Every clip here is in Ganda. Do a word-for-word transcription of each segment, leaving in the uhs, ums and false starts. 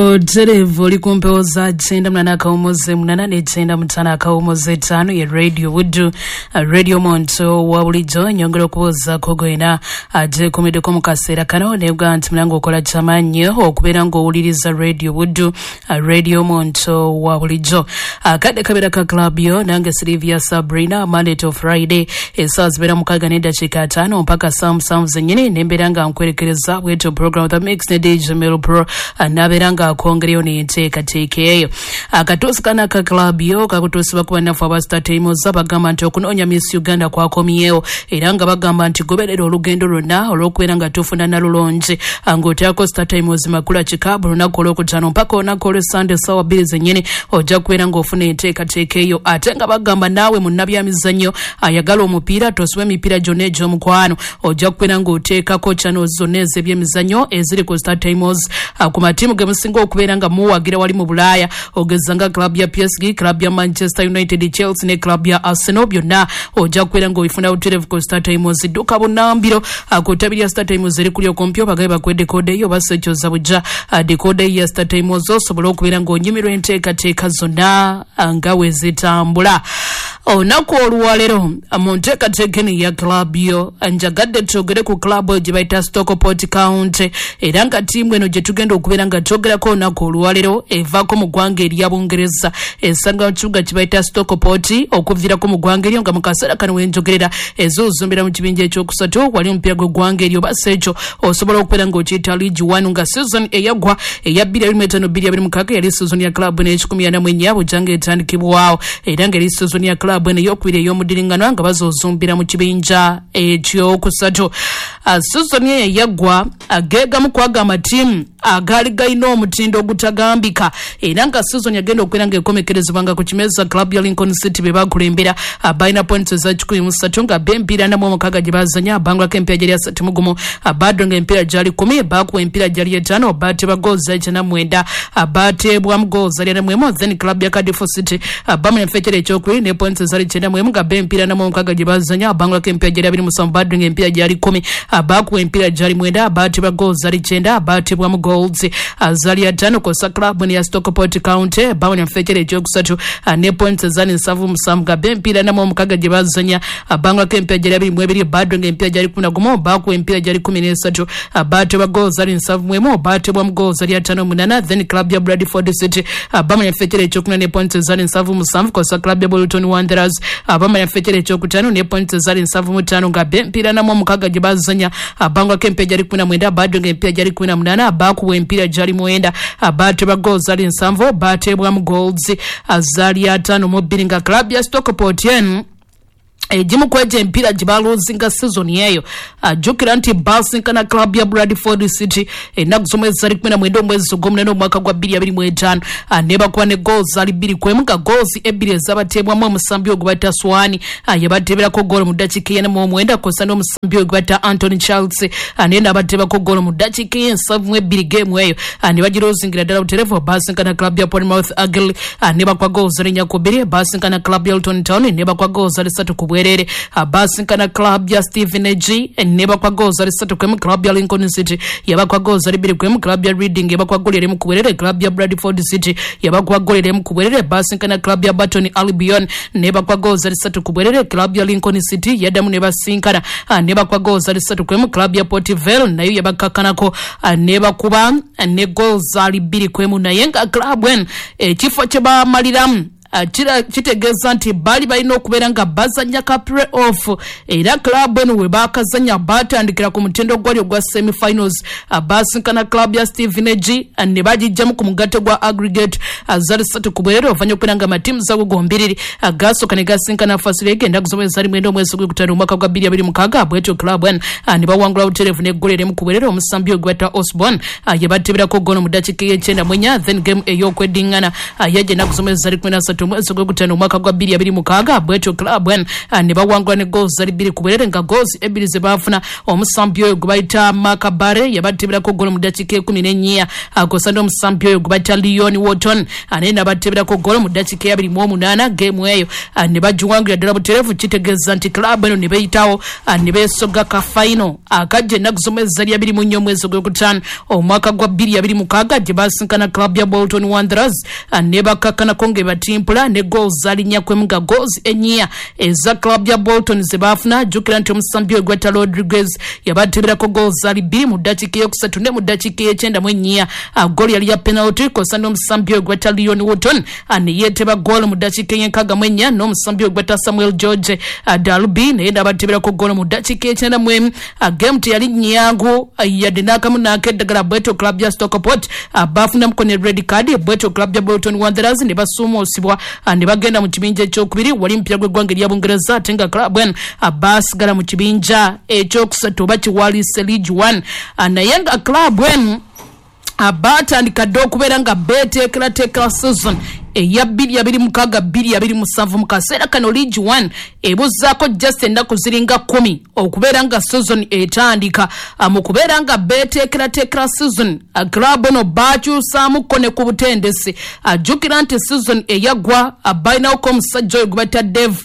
Butereevu oli ku mpewo za kyenda munana akawumuze munana ne kyenda mutaano akawumuze ttaano ye Radio Buddu, Radio Muntu wa bulijjo. Nyongera okubuuzaako gwena agyekuumiddeko mu kaseera kano nebuga nti mulanga okola kyamaanyi okubeera ng'owuliriza Radio Buddu, Radio Muntu wa bulijjo. Akadde kabeera ka club yo nange Sylvia Sabrina, Monday to Friday essaawa zibeera mukaaga n'eddakiika ataano mpaka saa musanvu zennyini, nembeera nga nkwerekereza bwetyo program The Mix ne D J Mel Pro nabeera nga akongereyo n'enteekateeka eyo. Akatuusi kano aka club yo kakutuusibwa ku bannaffe aba Star Times bagamba nti okunoonya Miss Uganda kwakomyewo, era nga bagamba nti goberera olugendo lwonna olw'okubeera nga tufuna nalulungi ng'oteekako Star Times makula kika buli lunaku olwokutaano mpaka olunaku olw'Essande essaawa bbiri zennyini ojja kubeera ng'ofuna enteekateeka eyo. Ate nga bagamba naawe munnabyamizannyo ayagala omupiira tosubwa emipiira gyonna egy'omukwano, ojja kubeera ng'oteekako channels zonna ez'ebyemizannyo eziri ku Star Times ku matiimu ge musinga okubeera nga muwagira wali mu Bulaaya, ogeza nga club ya P S G, club ya Manchester United, Chelsea ne club ya Arsenal, byonna ojja kubeera ng'obifuna butereevu ku Star Times. Dduka bunnambiro ku ttabi lya Star Times eri kuli okumpi obagabe bakuwe dekoda eyo oba sekyoza bujja dekoda ya Star Times osobole okubeera ng'onyumirwa enteekateeka zonna nga we zitambula. Olunaku olwaleero mu nteekateeka eno ya club yo njagadde twogere ku club gye bayita Stockport County, era nga ttiimu eno gye tugenda okubeera nga twogerako olunaku olwaleero evaako mu ggwanga erya Bungereza, esanga mu kibuga kye bayita Stockport okuviirako mu ggwanga eryo, nga mu kaseera kano we njogerera ezuuzumbira mu kibinja ekyokusatu wali omupiira gw'eggwanga eryo oba si ekyo osobola okubeera ng'okiyita League One, nga season eyaggwa eya bbiri abiri mu etaano bbiri abiri mu mukaaga yali season ya club n'ekikumi ana mu ennya bujjanga etandikibwawo, era nga eri season ya club eno eyokubiri ey'omuddiringano nga bazoozumbira mu kibinja ekyokusatu. Season eyo eyaggwa ageegamu kwaga amatiimu agaali galina omutindo ogutagambika, era nga season yagenda okubeera ng'ekomekerezebwa nga ku kimeza club ya Lincoln City be bakulembera balina points eza kikumi mu ssatu nga b'empiira ana mu omukaaga gye bazanya bangulako empiira gyali asatu mu gumu, baddo nga empiira gyali kkumi, baakuwa empiira gyali etaano, baatebwa goals ekyana mwenda, baateebwamu goals ali ana mu emu. Then club ya Cardiff City bamanya fekere ekyokubiri ne points ezali kyenda mu emu nga b'empiira ana mu omukaaga gye bazanya bangulako empiira gyali abiri musanvu, baddo nga empiira gyali kkumi, baakuwa empiira gyali mwenda, baatebwa goals ali kyenda, baatebwamu goals azali ataano. Kosa club ya Stockport County bamanya fekere ekyokusatu ne points ezali nsanvu musanvu nga b'empiira ana mu omukaaga gye bazanya bangulako empiira gyali abiri mu ebiri, baddo nga empiira gyali kkumi na gumu, baakuwa empiira gyali kkumi n'esatu, baatebwa goals ali nsanvu mu emu, baatebwamu goals ali ataano munana. Then club ya Bradford City bamanya fekere ekyokuna ne points ezali nsanvu musanvu, kosa club ya Bolton Wanderers bamanya fekere ekyokutaano ne points ezali nsanvu mu ttaano nga b'empiira ana mu omukaaga gye bazanya bangulako empiira gyali kkumi na mwenda, baddo nga empiira gyali kkumi na munaana, baakuwa empiira gyali mwenda, baatebwa goals ali nsanvu, baatebwamu goals azali ataano mu bbiri. Nga club ya Stockport eno egimu ku egyo empiira gye baluuzinga season eyo, ajjukira nti basinkana club ya Bradford City ennaku z'omwezi zali kkumi na mwenda omwezi ogw'omunaana omwaka gwa bbiri abiri mu etaano, ne bakuba ne goals ali bbiri ku emu, nga goals ebbiri ezabateebwamu omusambi ogwe bayita Swan yabateeberako goolo mu ddakiika ey'ena mu omwenda, kw'ossa n'omusambi ogwe bayita Anthony Charles naye n'abateebako goolo mu ddakiika ey'ensanvu mu ebbiri. Geemu eyo ne bagiruuzingira ddala butereevu. Basinkana club ya Plymouth Argyle ne bakuba goals ali nnya ku bbiri, basinkana club ya Luton Town ne bakuba goals ali ssatu ku bwereere, basinkana club ya Stevenage ne bakwa goals ali ssatu ku emu, club ya Lincoln City yabakwa goals ali bbiri ku emu, club ya Reading yabakwa goal erimu ku bwereere, club ya Bradford City yabakwa goal erimu ku bwereere, basinkana club ya Burton Albion ne bakwa goals ali ssatu ku bwereere, club ya Lincoln City yaddamu ne basinkana ne bakwa goals ali ssatu ku emu, club ya Port Vale nayo yabakakkanako ne bakuba ne goals ali bbiri ku emu. Naye nga club eno ekifo kye bamaliramu kitegeeza nti baali balina okubeera nga bazanya ka play-off, era club eno we baakazanya baatandikira ku mutindo gwali ogwa semi-finals, basinkana club ya Stevenage ne bagijjamu ku mugatte gwa aggregate zali ssatu ku bwereere, oluvannyuma okubeera nga amatiimu zago gombiriri gaasooka ne gasinkana first leg ennaku z'omwezi zali mwenda omwezi gw'okutaano omwaka gwa bbiri abiri mukaaga, bwetyo club eno ne bawangula butereevu n'eggolo erimu ku bwereere, omusambi ogwe bayita Osborne yebateeberako goolo mu ddakiika ey'ekyenda mu ennya. Then game ey'okweddiŋŋana yajja ennaku z'omwezi zali kkumi na ssatu ssatu omwezi ogwokutaano omwaka gwa bbiri abiri mukaaga, bwetyo club eno ne bawangula ne goals zali bbiri ku bwerere, nga goals ebbiri ze baafuna omusambi oyo gwe bayita Mark Barre yabateberako golo mu ddakiika ekumi n'ennya, akosa n'omusambi oyo gwe bayita Leon Wharton naye n'abateberako golo mu ddakiika eyabiri mu omunaana. Geemu eyo ne bagiwangulira ddala butereevu, kitegeeza nti club eno ne beeyitawo ne beesoga ka final akajja ennaku z'omwezi zali abiri mu nnya omwezi ogwokutaano omwaka gwa bbiri abiri mukaaga, gye basinkana club ya Bolton Wanderers ne bakakkanako ng'ebatimpula ne goals zaali nnya ku emu, nga goals ennya eza club ya Bolton ze baafuna. Jjukira nti omusambi oyo gwetta Rodriguez yabateberako goals zaali bbiri mu ddakiika eyokusatu ne mu ddakiika ey'ekyenda mu ennya, goal yali ya penalty, kosa n'omusambi oyo gwetta Leon Wharton ne yeeteba goal mu ddakiika ey'enkaaga mu ennya, n'omusambi oyo gwetta Samuel George Dalby naye n'abateberako goal mu ddakiika ekyenda mu emu. Game teyali nnyangu yadde n'akamu n'akeddagala, bwetyo club ya Stockport baafunamuko ne red card, bwetyo club ya Bolton Wanderers ne basuumuusibwa ne bagenda mu kibinja ekyokubiri wali mupiira gw'eggwanga erya Bungereza, ate nga club eno baasigala mu kibinja ekyokusatu oba kiwalise League One. Naye nga club eno baatandika dda okubeera nga beeteekerateekera season eya bbiri abiri mukaaga bbiri abiri musanvu. Mu kaseera kano League One ebuzaako just ennaku ziringa kkumi okubeera nga season etandika. Mu kubeera nga beeteekerateekera season, club eno baakyusaamuko ne ku butendesi. Ajjukira nti season eyaggwa balinawoko omusajja oyo gwe bayita Dave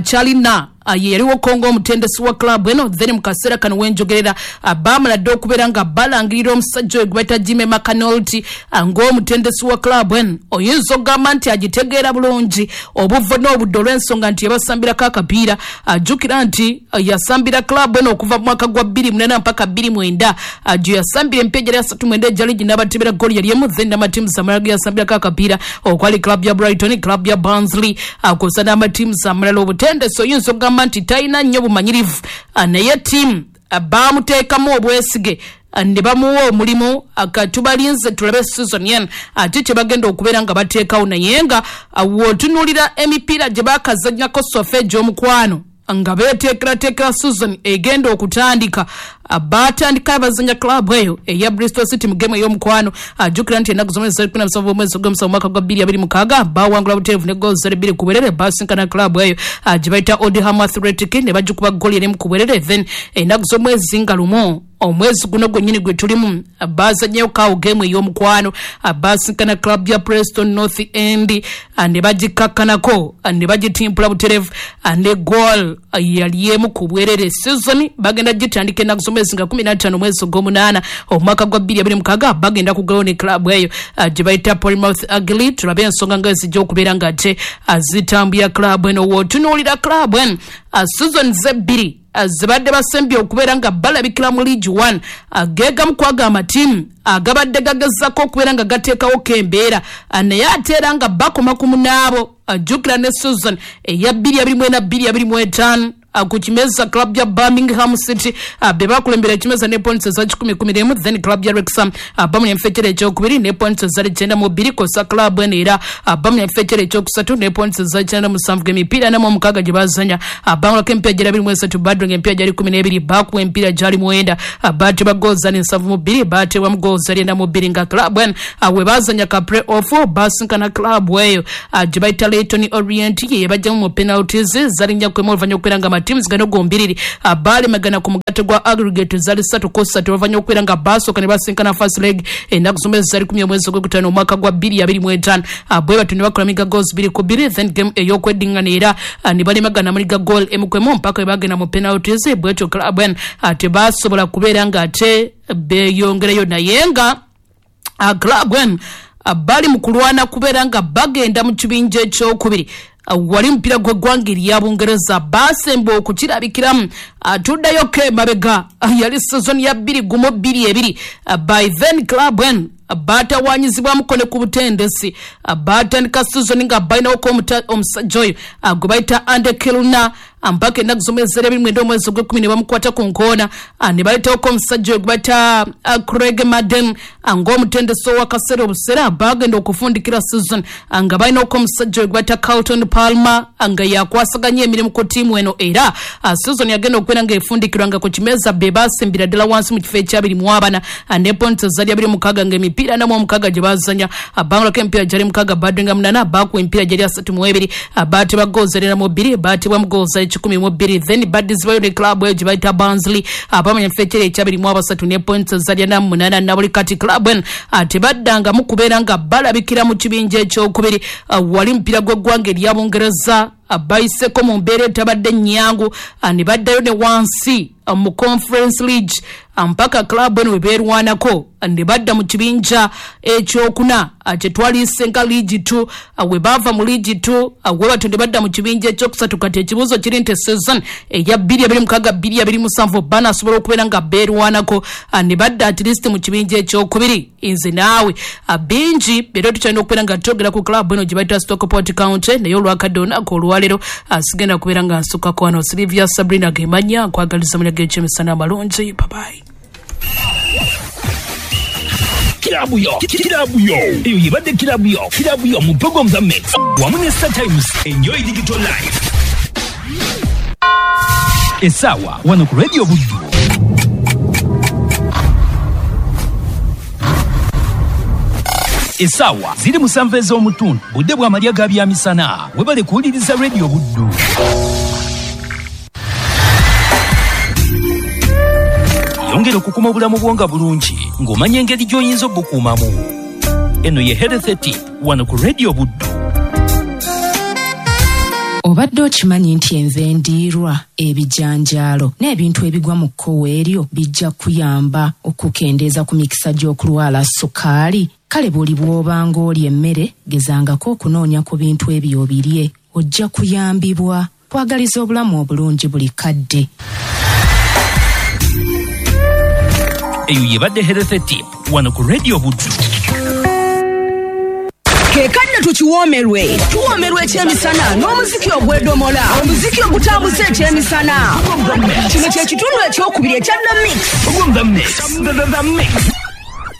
Challinor, ye yaliwo kongo omutendesi wa club eno. Then mu kaseera kano wenjogerera baamala dde okubeera nga balangirira omusajja oyo gwe bayita Jimmy McAnulty ng'omutendesi wa club eno. Oyinza okugamba nti agitegeera bulungi obuvo n'obudde olw'ensonga nti yabasambirako akapiira. Ajjukira nti yasambira club eno okuva mu mwaka gwa bbiri munana mpaka bbiri mwenda, gye yasambira empiira gyali asatu mwenda egya liigi n'abatebera ggoolo yali emu. Then n'amatiimu amalala ge yasambirako akapiira okwali club ya Brighton, club ya Barnsley, kw'ossa n'amatiimu amalala. Obutendesi oyinza okugamba nti talina nnyo bumanyirivu, naye ttiimu baamuteekamu obwesige ne bamuwa omulimu. Katubalinze tulabe season eno ate kye bagenda okubeera nga bateekawo, naye nga w'otunuulira emipiira gye baakazannyako so far egy'omukwano nga beeteekerateekera season egenda okutandika, baatandika abazanya club eyo eya Bristol City mu game ey'omukwano. Ajjukira nti ennaku z'omwezi kumi na musanvu omwezi ogw'omusanvu omwaka gwa bbiri abiri mukaaga bawangula butereevu ne goals zali bbiri ku bwerere. Basinkana club eyo gye bayita Oldham Athletic ne bagikuba goal emu ku bwerere. Then ennaku z'omwezi nga lumu omwezi guno gwennyini gwe tulimu bazannyeyo kawo game ey'omukwano, basinkana club ya Preston North End ne bagikakkanako ne bagitimpula butereevu ne goal yali emu ku bwerere. Season bagenda gitandika ennaku z'omwezi nga kumi na ttaano omwezi ogw'omunaana omwaka gwa bbiri abiri mukaaga, bagenda kugalawo ne club eyo gye bayita Plymouth Argyle. Tulabe ensonga nga ezijja okubeera nga ate zitambula club eno. W'otunuulira club eno, season zebbiri zibadde basembye okubeera nga balabikira mu League One, geegamu kwaga amatiimu agabadde gagezaako okubeera nga gateekawo kembeera, naye ate era nga bakoma ku munaabo. Ajjukira ne season eya bbiri abiri mu ena bbiri abiri mu etaano ku kimeza club ya Birmingham City be bakulembera ekimeza ne points eza kikumi kumi n'emu. Then club ya Wrexham bamuli enfekera ekyokubiri ne points ezali kyenda mu bbiri, kosa club eno era bamuli enfekera ekyokusatu ne points eza kyenda musanvu. Emipiira ana mu omukaaga gye bazanya bangulako emipiira gyali abiri mu esatu, badronga emipiira gyali kumi n'ebiri, bakuwa emipiira gyali mwenda, baatebwa goals zali nsanvu mu bbiri, baatebwamu goals zali ena mu bbiri. Nga club eno we bazanya ka play off basinkana club eyo gye bayita Leyton Orient, ye bajjamu mu penalties zali nnya kwemu, oluvannyuma okubeera nga teams gano gombiriri balemagana ku mugatte gwa aggregate zali ssatu ku ssatu, oluvannyuma okubeera nga basooka ne basinkana first leg ennaku z'omwezi zali kumi omwezi ogwokutaano omwaka gwa bbiri abiri mu etaano, bwe batyo ne bakola miga goals bbiri ku bbiri. Then game ey'okweddingana era ne balemagana muliga goal emu ku emu mpaka we bagenda mu penalties, bwetyo club eno tebasobola kubeera nga ate beeyongerayo. Naye nga club eno bali mu kulwana kubeera nga bagenda mu kibinja ekyokubiri wali mupiira gw'eggwanga erya Bungereza, baasemba okukirabikiramu. Tuddayo ke mabega, yali season ya bbiri gumu bbiri ebiri. By then club eno baatawanyizibwamuko ne ku butendesi, baatandika season nga balinawoko omusajja oyo gwe bayita Andy Kilner, mpaka ennaku z'omwezi ebiri mwenda omwezi ogw'ekkumi ne bamukwata ku nkoona ne baleetawoko omusajja gwe bayita Craig Madden ng'omutendesi ow'akaseera obuseera. Bagenda okufundikira season nga balinako omusajja gwe bayita Carlton Palmer nga yakwasaganya emirimu ku ttiimu eno, era season yagenda okubeera ng'efundikirwa nga ku kimeeza be basimbira ddala wansi mu kifo ekyabiri mu abana ne points zali abiri mukaaga ng'emipiira ana mu omukaaga gye bazanya bangulako emipiira gyali mukaaga badinga munana bakuwa emipiira gyali asatu mu ebiri baatebwa goals erina mu bbiri baatebwa mu goals ekikumi mu bbiri. Then baddizibwayo ne club eyo gye bayita Barnsley abamanya mu kifo ekyeri ekyabiri mu abasatu ne points zali ana mu munaana. Na buli kati club eno tebaddangamu kubeera nga balabikira mu kibinja ekyokubiri. Wali mupiira gw'eggwanga erya Bungereza bayiseko mu mbeera etabadde nnyangu ne baddayo ne wansi mu Conference League mpaka club eno we beerwanako ne badda mu kibinja ekyokuna kyetwaliise nga League two. We baava mu League two we batyo ne badda mu kibinja ekyokusatu. Kati ekibuuzo kiri nti season eya bbiri abiri mukaaga bbiri abiri musanvu banasobola okubeera nga beerwanako ne badda at least mu kibinja ekyokubiri? Nze naawe bingi era tukyalina okubeera nga twogera ku club eno gye bayita Stockport County, naye olwakadde olunaku olwaleero sigenda kubeera nga nsukako wano. Silivia Sabrina Gemanya nkwagaliza mulya g'ekyemisana amalungi. Babayi. Kirabu yo, kirabu yo, eyo yebadde kirabu yo, kirabu yo mu program za Mix wamu ne Star Times. Enjoy digital life. Esawa wano ku Radio Buddu. Esawa ziri musanvu ez'omutundu, budde bw'amalya ga byamisana. Webale kuwuliriza Radio Buddu. Yongera okukuma obulamu bwo nga bulungi ng'omanya engeri gy'oyinza obukuumamu. Eno ye Health Tip wano ku Radio Buddu. Obadde okimanyi nti enva endiirwa, ebijanjaalo n'ebintu ebigwa mu kkowe eryo bijja kuyamba okukendeeza ku mikisa gy'okulwala sukaali? Kale buli bw'obanga olya emmere gezangako okunoonya ku bintu ebyo obirye, ojja kuyambibwa. Kwagaliza obulamu obulungi buli kadde. Eyo yebadde Health Tip wano ku Radio Buddu. Kekanne tukiwoomerwe, tuwoomerwe ekyemisana n'omuziki ogw'edomola, omuziki ogutambuza ekyemisana. Kino kye kitundu ekyokubiri ekya The Mix. The Mix. The Mix.